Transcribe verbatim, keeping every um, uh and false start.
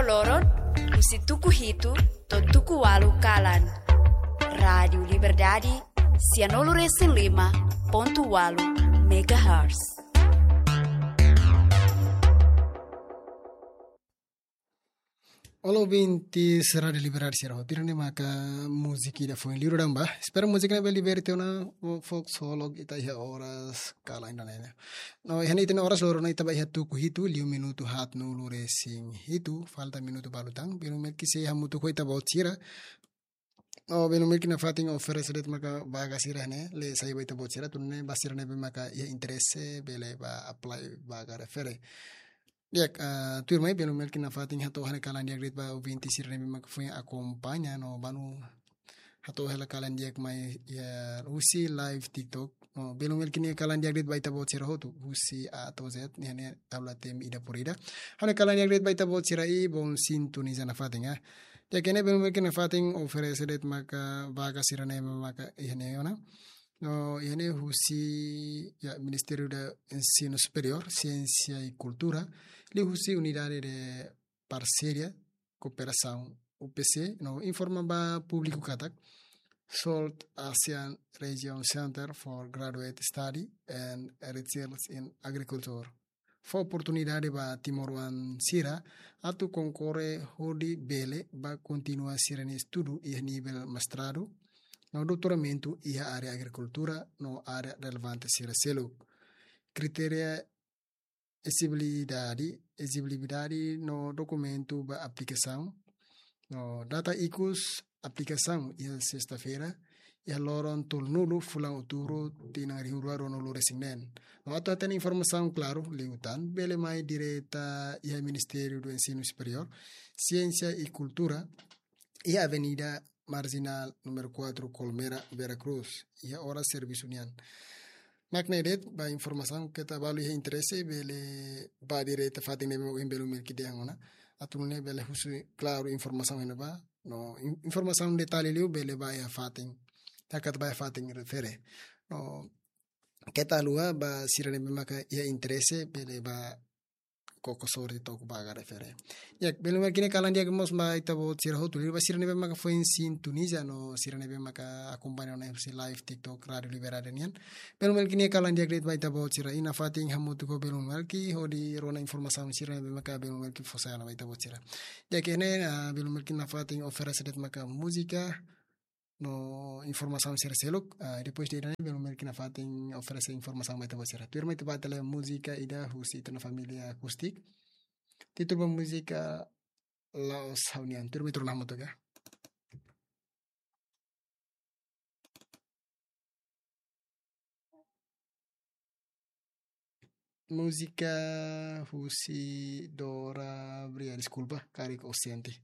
Loron, husi tuku hitu to'o tuku ualu kalan. Rádiu Liberdade, sianulu resin lima pontu ualu megahertz. Olá, ouvintes Rádiu Liberdade sira hotu, tuirmai maka múzika ida foin liu daudaun ba. Espera múzika ne'e bele liberte ona, o fokus holok ita iha oras kalan ida-ne'e. No, iha ne'e ita-nia oras loron ne'e ita ba iha tuku hitu, liu minutu haatnulu resin hitu, falta minutu balu tan, belun Melki sei hamutuk ho ita-boot sira. No, belun Melki nafatin oferese de'it maka vaga sira ne'e, lee sai ba ita-boot sira, atu nune'e ba sira ne'ebé maka iha interese, bele ba apply vaga refere. Di'ak, ah, tuirmai belun Melki nafatin hato'o ha'u-nia kalan di'ak de'it ba ouvinte sira ne'ebé maka foin akompaña no bainhira hato'o hela kalan di'ak mai iha husi live TikTok. No, belun Melki nia kalan di'ak de'it ba ita-boot sira hotu, husi A to'o Z, iha ne'e tabla temi ida por ida. Ha'u-nia kalan di'ak de'it ba ita-boot sira i bom sintoniza nafatin, ah. Di'ak, iha ne'e belun Melki nafatin oferese de'it maka vaga sira ne'ebé maka iha ne'e ona. No, iha ne'e husi, ya, Ministériu do Ensino Superiór, Siénsia i Kultura, liuhusi Unidade de Parseria Kooperasaun, U P C, no informa ba públiku katak SALT ASEAN Region Center for Graduate Study and Research in Agriculture fó oportunidade ba timoroan sira atu konkorre hodi bele ba kontinua sira-nia estudu iha nivel mestradu no doutoramentu iha área agrikultura no área relevante sira seluk. Kritéria exigibilidade, exigibilidade no dokumentu ba aplikasaun. No data ikus aplikasaun iha sesta-feira, iha loron tolunulu fulan Outubru, tinan rihun rua ruanulu resin neen. No atu hatene informasaun klaru liután, bele mai direta iha Ministériu do Ensino Superiór, Siénsia i Kultura, iha Avenida Marginal número quatro, Colmera, Vera Cruz, iha oras servisu nian. Mak ne'e de'it ba informasaun, keta balu iha interese bele ba direta fatin ne'ebé ohin belun Melki dehan ona. Atu nune'e bele husu klaru informasaun iha ne'ebá. No in-, informasaun detalle liu bele ba iha fatin. Hakat ba iha fatin refere. No keta haluha ba sira ne'ebé maka iha interese bele ba koko sorte to'o vaga refere. Ya, belun Melki nia kalan di'ak mós ba ita-boot sira hotu, liuliu ba sira ne'ebé maka foin sintoniza no sira ne'ebé maka akompaña ona husi live TikTok Rádiu Liberdade nian. Belun Melki nia kalan di'ak de'it ba ita-boot sira i nafatin hamutuk ho belun Melki hodi rona informasaun sira ne'ebé maka belun Melki fó sai ona ba ita-boot sira. Ya, iha ne'e, ah, belun Melki nafatin oferese de'it maka múzika no informasaun sira seluk, ah, depois de ida-ne'e belun Melki nafatin oferese informasaun ba ita-boot sira. Tuirmai ita ba tele múzika ida husi ita-nia família Acústica. Títulu ba múzika La'ós Ha'u-nian. Tuirmai ita rona hamutuk ka. Múzika husi Dora Bria, deskulpa, karik oxente.